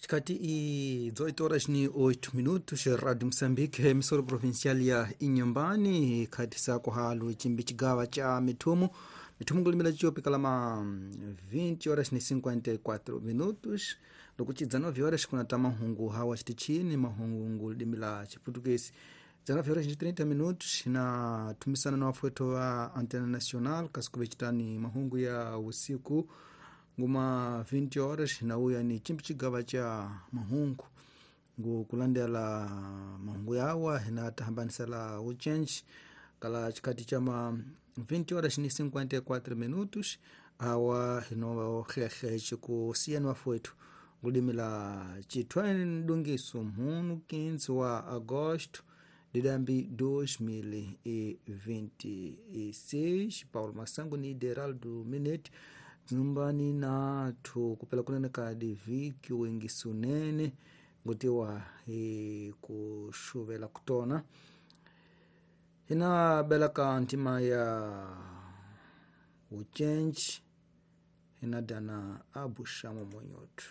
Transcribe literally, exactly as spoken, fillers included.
Chikati i dezoito horas ni oito minutos, Rádio Moçambique, emissora provincial ya Inhambane, khati sako halo chimbi chigawa cha mithumu mithumu kulimila chiopi kalama vinte horas ni cinquenta e quatro minutos, lokuti dezenove horas kunata mahungu hawa chitichini mahungu limila chiputukesi dezenove horas ni trinta minutos na tumisana na wafueto wa Antena Nacional kasikuve chitani mahungu ya usiku nguma vinte horas na uya ni chimbi chigawa cha mahungu ngu kulandela mahungu yawa na tahambanisala uchenji kala chikati cha ma vinte horas ni cinquenta e quatro minutos awa hino xexe chikusiyani wafuetu ngulimila chithwani ndungiso mhunu quinze wa agosto didambi dois mil e vinte e seis. Paulo Massango ni Deraldo Minete nyumbani nathu kupela kunene kadi viki wengisunene ngutiwa e, kuxuvela kutona hina belaka ntima ya ucenji hina dana abuxamo monyoto.